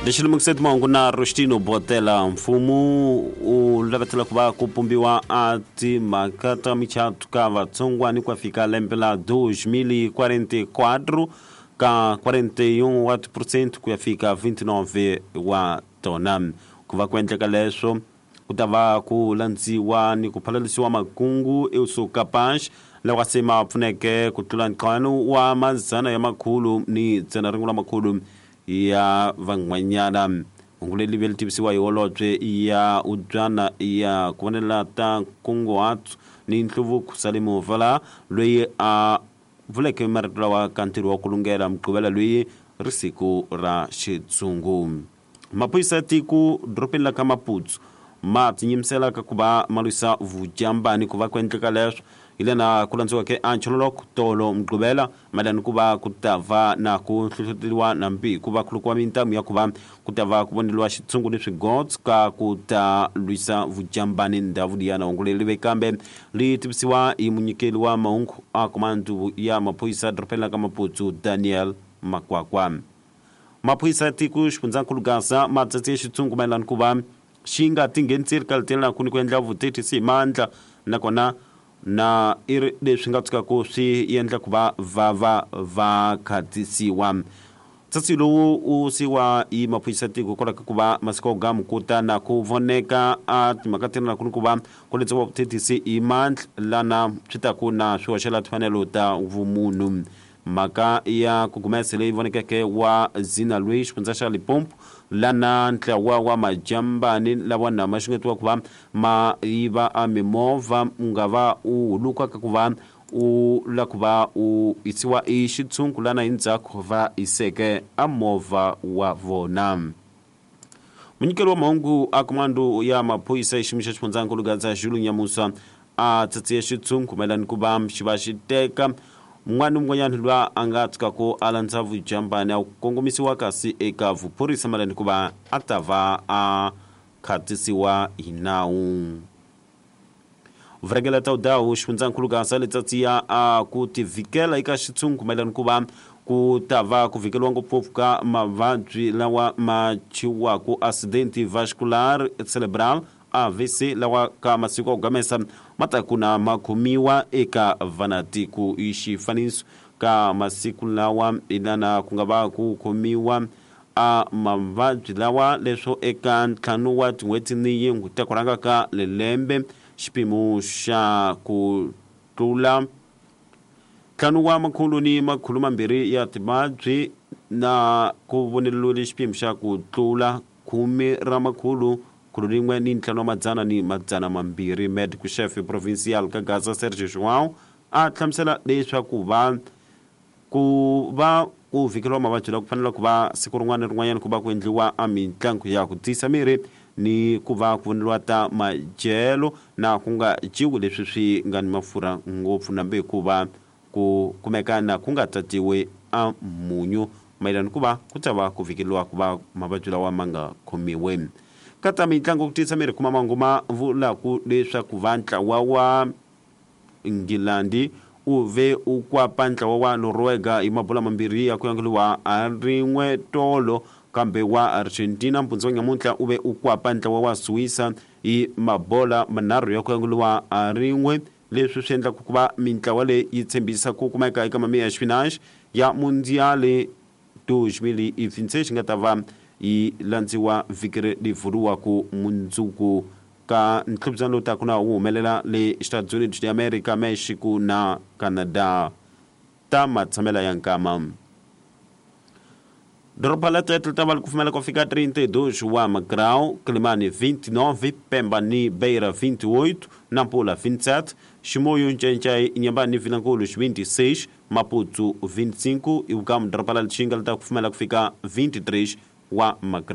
Lexi lemukise timahungu na Rostino Botela. Mfumo wu lavetela ku va ku pumbiwa a timhaka ta michato ka vatsongwani ku ya fika lembe la 2044 ka 41 wa tiphurosente ku ya fika 29 wa tona. Ku va ku endleka leswo ku ta va ku landziwa ni ku phalalisiwa makungu eu capaz lawa se ma pfuneke ku tlula ntlhanu wa madzana ya makhulu ni dzana rin'we ra makhulu ya van'wanyana. Hungu leri ve li tivisiwa hi holobye ya ubyana ya ku vonela ta nkunguhato ni nhluvuko Salim Vala, loyi a vuleke marito lawa ka ntirho wa ku lungela Mugqivela loyi ri siku ra xitshungu. Maphorisa ya tiko dorobeni la ka Maputo ma tinyimisela ka ku va ma lwisa vujambani. Ku va ku endleka leswo hi lena ku landziweke a nchololoko tolo Mugqivela mayelana ni ku va ku ta va na ku hlohloteriwa nambi ku va khulukiwa mintamu ya ku va ku ta va ku voneliwa xitshungu ni swigots ka ku ta lwisa vujambani ndhawu liyana. Hungu leri ve kambe li tivisiwa hi munyikeli wa mahungu a komandu ya maphorisa dorobeni la ka Maputo Daniel Makwakwa. Maphorisa ya tiko xifundzankulu Gaza ma tsatse xitshungu mayelana ku va xi nga tingheniseli ka litelanaku ni ku endla vuthethisi hi mandla, nakona na i ri leswi nga tshukaku swi endla ku va va va va khatisiwa. Tsatsi lowu wu siwa hi maphorisa ya tiko hikwalaho ka ku va masiku ya gamu ku ta na ku voneka a timhaka ti ri na ku ni ku va ku letsiwa vuthethisi hi mandla lana swi taku na swi hoxela timfanelo ta vumunhu. Mhaka ya ku gumese leyi vonekeke wa Zina Lwi xifundza xa Limpopo lana ntlawa wa majambani lawa na ma xungetiwa ku va ma yiva a mimovha u nga va u huluka ka ku va u la ku va u yisiwa i xitshungu lana hi ndzhaku va hiseke a movha wa vona. Munyikeli wa mahungu a komando ya maphorisa xiyimo xa xifundzankulu Gadza Zulu Nyamusa a tsatsiye xitshungu mayelana ku va xi va xi teka un'wana ni un'wanyana loyi a nga tshukaka a landza vujambani a kongomisiwa kasi eka vuphorisa mayelana ku va a ta va a khatisiwa hi nawu. Vurhangela ta udawu xifundzankulu Gaza letsatsiya a ku tivhikela eka xitshungu mayelana ku va ku ta va ku vhikeliwa ngopfungopfu ka mavabyi lawa ma thyiwaku accident vascular cerebral AVC lawa ka masiku ya ku gamesa ma ta ku na ma khomiwa eka vanatiko. Hi xifaniso ka masiku lawa ilana ku nga va ku khomiwa a mavabyi lawa leswo eka ntlhanu wa tin'hweti ni yin'we ta ku rhanga ka lelembe xipimo xa ku tlula ntlhanu wa makhulu ni makhulu mambirhi ya timavabyi na ku voneriwile xipimo xa ku tlula khume ra makhulu khulu rin'we ni ntlhanu wa madzana ni madzana mambirhi. Medical chef provincial ka Gaza Sergio João a hlamusela leswaku va ku va ku vhikeliwa mavabyi lawa ku fanele ku va siku rin'wana ni rin'wanyana ku va ku endliwa a mitlangu ya ku tiyisa miri ni ku va ku voneriwa ta madyelo na ku nga dyiwi leswi swi nga ni mafurha ngopfu nambe hikuva ku kumeka na ku nga tatiwi a munyu mayelana ku va ku ta va ku vhikeliwa ku va mavabyi lawa ma nga khomiwi. Ka ta mitlangu ku tiyisa miri kuma mahungu ma vulaku leswaku va ntlawa wa Nghilandi u ve u kwapa ntlawa wa Noruega hi mabola mambirhi ya ku yangeliwa a rin'we tolo, kambe wa Argentina mpundzu wa nyamuntlha u ve u kwapa ntlawa wa Suisa hi mabola manharhu ya ku yangeliwa a rin'we. Leswi swi endlaka ku va mintlawa leyi yi tshembisa ku kumeka eka mamiya ya xipinachi ya Mundial 2026 xi nga ta va yi landziwa vhiki leri vuriwaka mundzuku ka ntlhuvutano lowu taka na wu humelela le Estados Unidos de America, Mexico na Canada ta matshamela ya nkama. Doroba la Tete li ta va li kufumela ku fika 32 wa magrau, Quelimane 29, Pemba ni Beira 28, Nampula 27, Chimoio, Ncencai, Inhambane ni Vilankulo 26, Maputo 25, ivi ka doroba la Lichinga li ta kufumela ku fika 23 wa magrau.